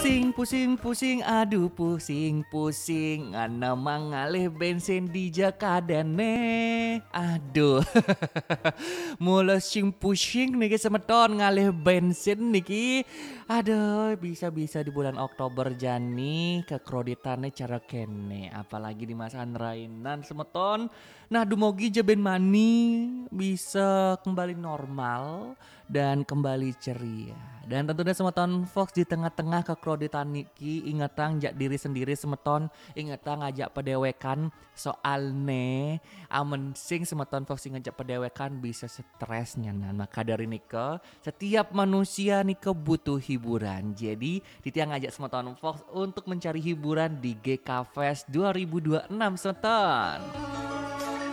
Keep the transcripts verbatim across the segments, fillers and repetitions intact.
Pusing, pusing, pusing, aduh pusing, pusing. Ngana mangalih bensin di Jakadene. Aduh. Mula sing pusing niki semeton ngalih bensin niki. Aduh, bisa-bisa di bulan Oktober jani kekreditannya cara kene. Apalagi di masa rainan semeton. Nah, dumogi ja ben mani bisa kembali normal dan kembali ceria. Dan tentunya semeton Fox di tengah-tengah kekreditan niki ingetang jak diri sendiri semeton, ingetang ajak pedewekan soalne amen sing semeton Fox inget jak pedewekan bisa stres nyanan. Maka dari nika setiap manusia nika butuh hiburan. Jadi titiang ngajak semeton Fox untuk mencari hiburan di G K Fest dua ribu dua enam semeton.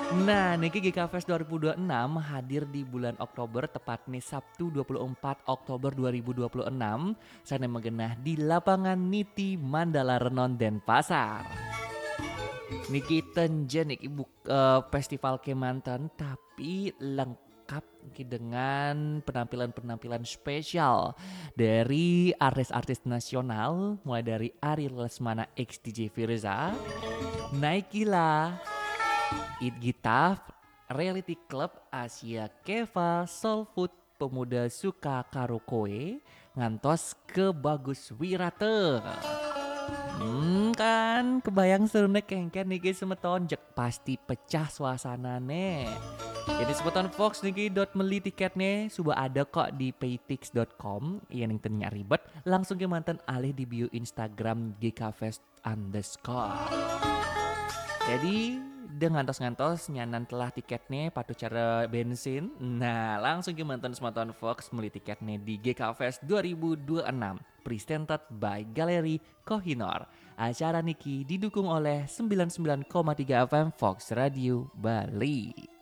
Nah, niki G K Fest dua ribu dua enam hadir di bulan Oktober, tepatnya Sabtu dua puluh empat Oktober dua ribu dua puluh enam. Sana magenah di lapangan Niti Mandala Renon Denpasar. Niki tenjen niki buk, eh, festival kemanten tapi lengkap niki dengan penampilan-penampilan spesial dari artis-artis nasional, mulai dari Ari Lesmana X D J Firza, Naikila, It Gitaf, Reality Club, Asia Keva, Soul Food, Pemuda Suka Karo Koe, ngantos ke Bagus Wirata. Hmm, kan kebayang serune kengken niki semeton, jek pasti pecah suasanane. Jadi semeton Fox niki dot meli tiketnya sudah ada kok di paytix dot com. Iya ning tenya ribet, langsung ke manten alih di bio Instagram G K Fest underscore. Jadi, de ngantos-ngantos nyanan telah tiketnya patuh cara bensin. Nah, langsung ke manten semeton Fox meli tiketnya di G K Fest dua ribu dua enam. Presented by Galeri Kohinor. Acara niki didukung oleh sembilan sembilan koma tiga F M Fox Radio Bali.